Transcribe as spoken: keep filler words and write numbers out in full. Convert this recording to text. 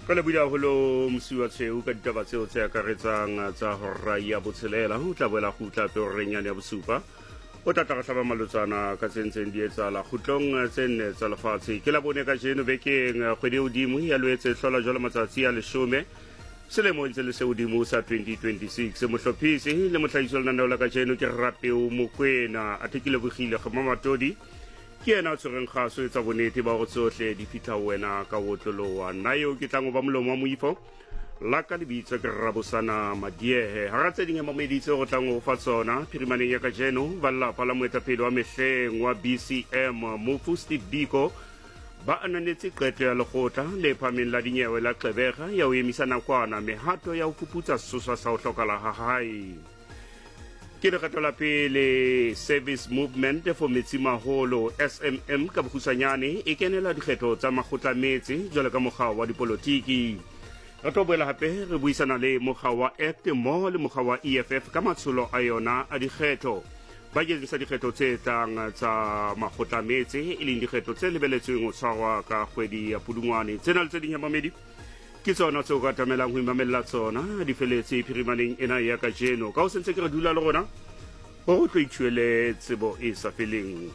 Ka lebohile haholo Mosiwa Tshweu ka ditaba tseo tse akaretsang tsa hora ya botshelela. O tla boela kgutla hape horeng yane ya bosupa. O tla tla re hlaba malotsana ka tse ntseng di etsahala kgutlong tse nne tsa lefatshe. Ke Labone kajeno bekeng, kgwedi e hodimo ya Loetse e hlola jwalo matsatsi a leshome selemo ntse le se hodimo sa twenty twenty-six. Mohlophisi le mohlahiso lenaneo la kajeno ke Rapeo Mokwena. Athe ke lebohile Kgema Matodi, ke yena a tshwereng kgaso e tsa bonnete ba hore tsohle di fihla ho wena ka ho otloloha. Nna eo ke tlang ho ba molomo wa moifo la ka lebitso ke Rabosana Madiehe. Hara tse ding mamedi tseo re tlang ho fa tsona phirimaneng ya kajeno, ba lelapa la moetapele wa mehleng wa B C M Mofu Steve Biko ba ananetse qeto ya lekgotla le phahameng la dinyewe la Gqeberha ya ho emisa nakwana mehato ya ho fuputsa sesosa sa ho hlokahala ha hae. Ke lekgetho la pele Service Movement for Metsimaholo S M M ka bokgutshwanyane e kenela dikgetho tsa makgotla metse jwalo ka mokga wa dipolotiki. Re tlo boela hape re buisana le mokga wa A C T mmoho le mokga wa E F F ka matsholo a yona a dikgetho bakeng sa dikgetho tse tlang tsa makgotla metse, e leng dikgetho tse lebeletsweng ho tshwarwa ka kgwedi ya Pudungwane. Tsena le tse ding ya mamedi ke tsona tseo ka tamelang ho imamella tsona di feletse phirimaneng ena ya kajeno. Ka ho sentse ke re dula le rona hore o tlo ithuele tsebo e sa feleng.